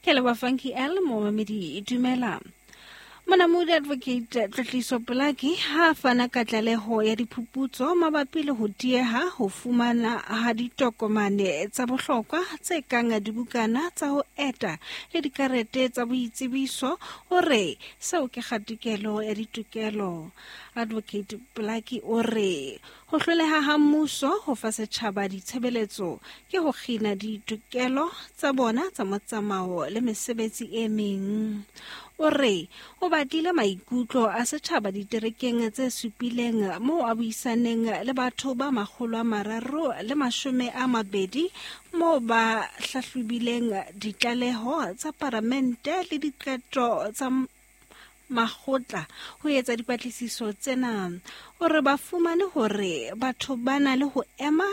Ke leboha Funky L, momamedi dumela. Monamodi Advocate Tlotliso Polaki ha a fana ka tlaleho ya diphuputso mabapi le ho dieha ho fumana ha ditokomane tsa bohlokwa tse kang dibukana tsa ho eta le dikarete tsa boitsebiso, o re seo ke kgatikelo ya ditokelo. Advocate Polaki o re ho hloleha ha mmuso ho fa setjhaba ditshebeletso ke ho kgina ditokelo tsa bona tsa motsamao le mesebetsi e meng. O re o batlile maikutlo a setjhaba diterekeng tse supileng moo a buisaneng le batho ba 320 moo ba hlahlobileng ditlaleho tsa paramente le diqeto tsa makgotla ho etsa dipatlisiso tsena. O re ba fumane hore batho ba na le ho ema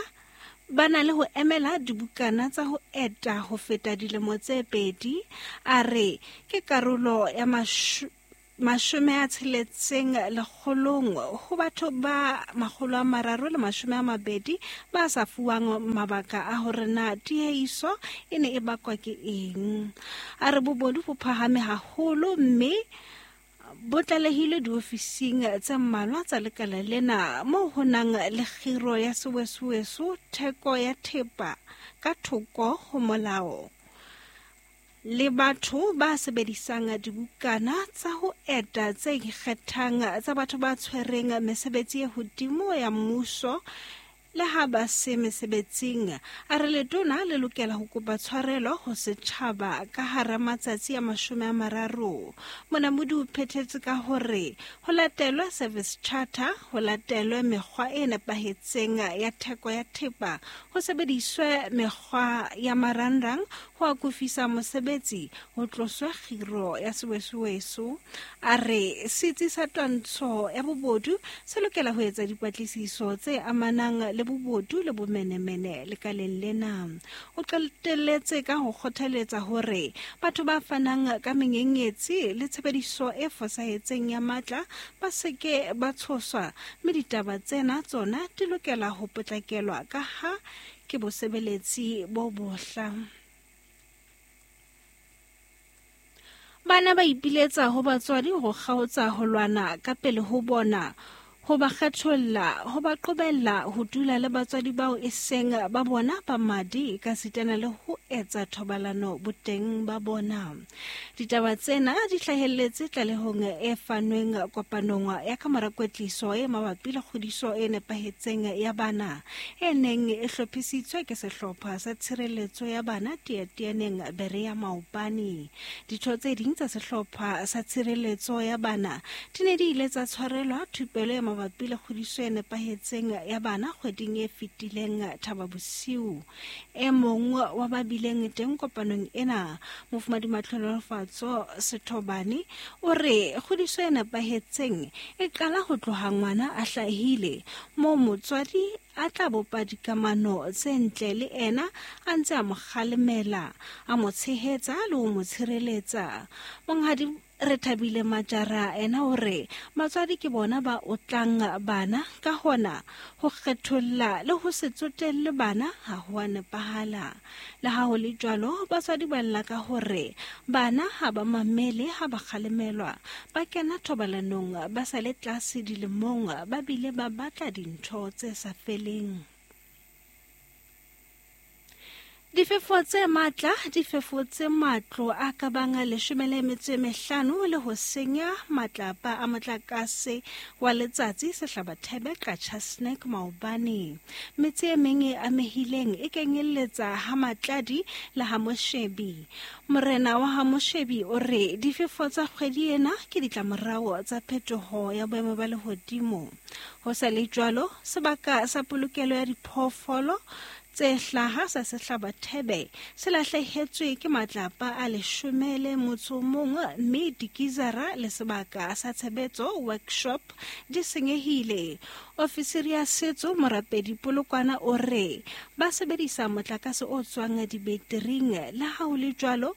ba na le ho emela dibukana tsa ho eta ho feta dilemo tse pedi. A re ke karolo ya 60 lekgolong ho batho ba 320 ba sa fuwang mabaka a hore na tiehiso e ne e bakwa ke eng. A re bobodu bo phahame haholo mme bo tlalehilwe diofising tse mmalwa tsa lekala lena moo ho nang le kgiro ya sewesoweso, theko ya thepa ka thoko ho molao le batho ba sebedisang dibukana tsa ho eta tse ikgethang tsa batho ba tshwereng mesebetsi e hodimo ya mmuso le ha ba se mesebetsing. A re letona le lokela ho kopa tshwarelo ho setjhaba ka hara matsatsi a 30. Monamodi o phethetse ka hore ho latelwe service charter, ho latelwe mekgwa e nepahetseng ya theko ya thepa, ho sebediswe mekgwa ya marangrang ho akofisa mosebetsi, ho tloswe kgiro ya sewesoweso. A re setsi sa twantsho ya bobodu se lokela ho etsa dipatlisiso tse amanang le bobodu le bomenemene lekaleng lena. O qetelletse ka ho kgothaletsa hore batho ba fanang ka menyenyetsi le tshebediso e fosahetseng ya matla ba se ke ba tshoswa, mme ditaba tsena tsona di lokela ho potlakelwa ka ha ke bosebeletsi bo bohla. Bana ba ipiletsa ho batswadi ho kgaotsa ho lwana ka pele ho bona, ho ba kgetholla, ho ba qobella ho dula le batswadi bao e seng ba bona ba madi ekasitana le ho etsa thobalano boteng ba bona. Ditaba tsena di hlahelletse tlalehong e fanweng kopanong ya kamora kwetliso e mabapi le kgodiso e nepahetseng ya bana e neng e hlophisitswe ke sehlopha sa tshireletso ya bana Tiatianeng Berea maobane. Ditho tse ding tsa sehlopha sa tshireletso ya bana di ne di ile tsa tshwarelwa thupelo e mabapi le kgodiso e nepahetseng ya bana kgweding e fetileng Thaba Bosiu. E mong wa ba bileng teng kopanong ena, Mofumadi Matlhonolofatso Sethobane, o re kgodiso e nepahetseng e qala ho tloha ngwana a hlahile, moo motswadi a tla bopa dikamano tse ntle le ena a ntse a mo kgalemela, a mo tshehetsa le ho mo tshireletsa. Monghadi Rethabile Majara ena o re batswadi ke bona ba otlang bana, ka hona ho kgetholla le ho se tsotelle bana ha ho a nepahala. Le ha ho le jwalo, batswadi ba lla ka hore bana ha ba mamele ha ba kgalemelwa, ba kena thobalanong ba sa le tlase dilemong, ba bile ba batla dintho tse sa feleng. Difefo tse matla di fefotse matlo a ka bang 15 le ho senya matlapa a motlakase wa letsatsi Sehlabathebe Qacha Snack maobane. Metse e meng e amehileng e kenyelletsa ha Matladi le ha Moshebi. Morena wa ha Moshebi o re difefo tsa kgwedi ena ke ditlamorao tsa phetoho ya boemo ba lehodimo. Ho sa le jwalo, sebaka sa polokelo ya diphoofolo tse hlaha sa Sehlabathebe se lahlehetswe ke matlapa a 11 mme dikizara le sebaka sa tshebetso workshop di senyehile. Ofisiri ya setso Morapedi Polokwana o re ba sebedisa motlakase o tswang dibetiring, le ha ho le jwalo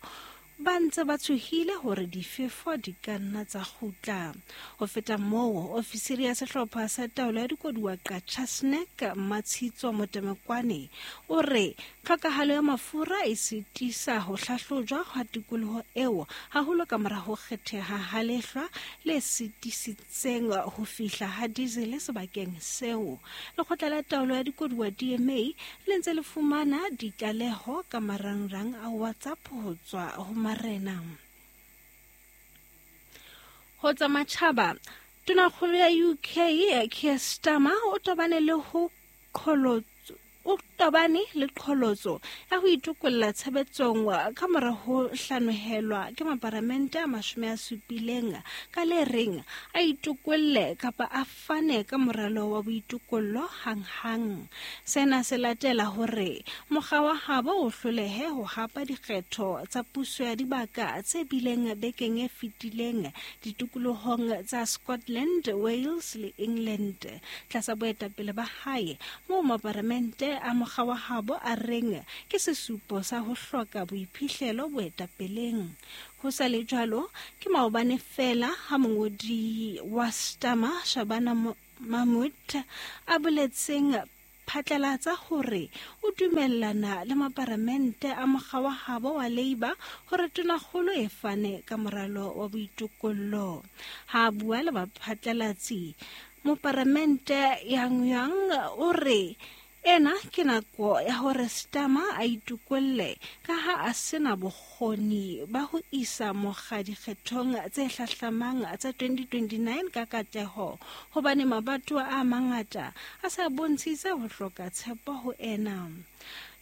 ba ntse ba tshohile hore difefo di ka nna tsa kgutla. Ho feta moo, ofisiri ya sehlopha sa taolo ya dikoduwa Qacha Snack Mmatshitso Motemekwane o re Tlhokahalo ya mafura e sitisa ho hlahlojwa hwa tikoloho eo, haholo ka mora ho kgetheha ha lehlwa le sitisitseng ho fihla ha diesel sebakeng seo. Lekgotla la Taolo ya Dikoduwa DMA le ntse le fumana ditlaleho ka marangrang a WhatsApp ho tswa ho marena. Ho tsa matjhaba, Tonakgolo ya UK Keir Starmer o tobane le ho qholotso o tobane le qholotso ya ho itokolla tshebetsong ka mora ho hlanohelwa ke maparamente a 70 ka le reng a itokolle kapa a fane ka moralo wa boitokollo hanghang. Sena se latela hore mokga wa habo o hlolehe ho hapa dikgetho tsa puso ya dibaka tse bileng bekeng e fetileng ditikolohong tsa Scotland, Wales le England. Tlasa boetapele ba hae, moo maparamente a mokga wa habo a reng ke sesupo sa ho hloka boiphihlelo boetapeleng. Ho sa le jwalo, ke maobane feela ha mongodi wa Starmer, Shabana Mahmood, a boletseng phatlalatsa hore o dumellana le maparamente a mokga wa habo wa Labour hore tonakgolo e fane ka moralo wa boitokollo. Ha a bua le baphatlalatsi, moparamente Yang Yang o re ena ke nako ya hore Starmer a itokolle ka ha a sena bokgoni ba ho isa mokga dikgethong tse hlahlamang tsa 2029 ka katleho hobane mabatowa a mangata a sa bontshitse ho hloka tshepo ho ena.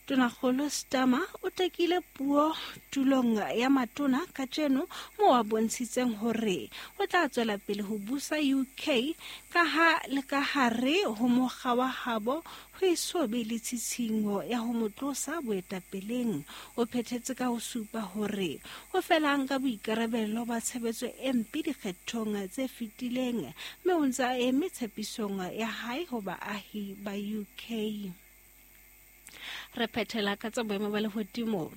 Tonakgolo Starmer o tekile puo tulong ya matona kajeno moo a bontshitseng hore o tla tswela pele ho busa UK ka ha le ka hare ho mokga wa habo ho eso be le tshitshinyo ya ho mo tlosa boetapeleng. O phethetse ka ho supa hore o fela a nka boikarabelo ba tshebetso e mpe dikgethong tse fetileng mme o ntse a eme tshepisong ya hae ho baahi ba UK. Re phethela ka tsa boemo ba lehodimo.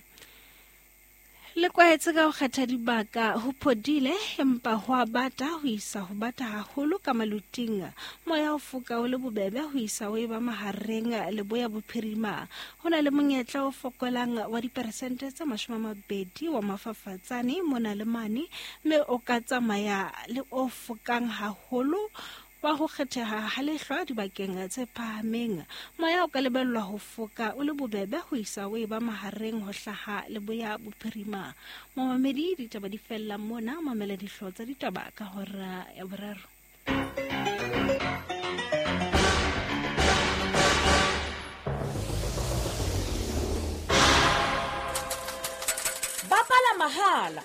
Le kwahetse ka ho kgetha dibaka ho phodile empa ho a bata ho isa ho bata haholo ka maluting. Moya o foka o le bobebe ho isa o eba mahareng leboya bophirima. Ho na le monyetla o fokolang wa diperesente tse 20 wa mafafatsane mona le mane, mme o ka tsamaya le o fokang haholo wa ho kgetheha ha lehlwa dibakeng tse phahameng. Moya o ka lebellwa ho foka o le bobebe ho isa o eba mahareng ho hlaha leboya bophirima. Momamedi, ditaba di fella mona, mamela dihlooho tsa ditaba ka hora ya boraro. Bapala mahala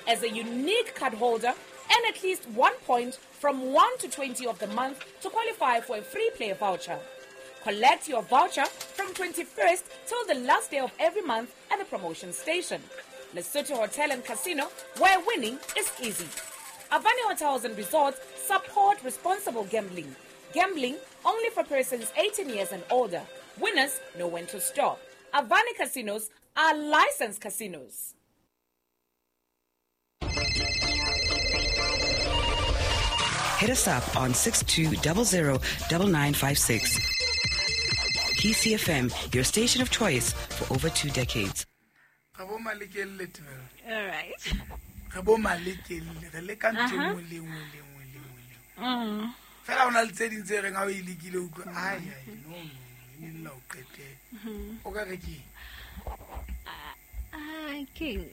as a unique card holder and at least 1 point from 1 to 20 of the month to qualify for a free play voucher. Collect your voucher from 21st till the last day of every month at the promotion station. Lesotho Hotel and Casino, where winning is easy. Avani Hotels and Resorts support responsible gambling. Gambling only for persons 18 years and older. Winners know when to stop. Avani Casinos are licensed casinos. Hit us up on 6200 9956. PCFM, your station of choice for over 2 decades. All right. King,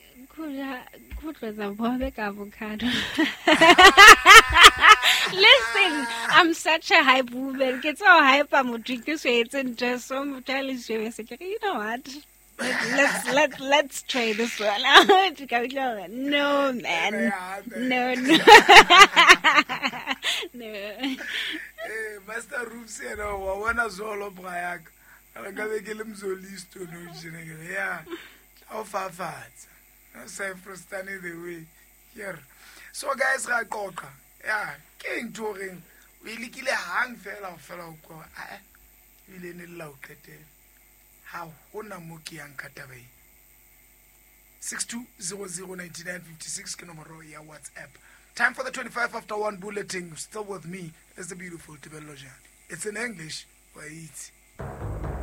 avocado. Listen, I'm such a hype woman. Get so hype, I'm drinking so it's just so you know what? Let's try this one. No, man. No. No. Hey, Master Roops, you know, I wanna zolo brayak. I gotta get him zolisto no yeah. The way here. So guys, ra qoqa. Yeah, ke ntho reng o ile hang fela fela o kwa. Ah, ile ne la o qetela. Ha hona mo ke yang ka taba e. 62009956 ke nomoro ya WhatsApp. Time for the 1:25 bulletin. Still with me is the beautiful Tebello Jane. It's in English. Wait.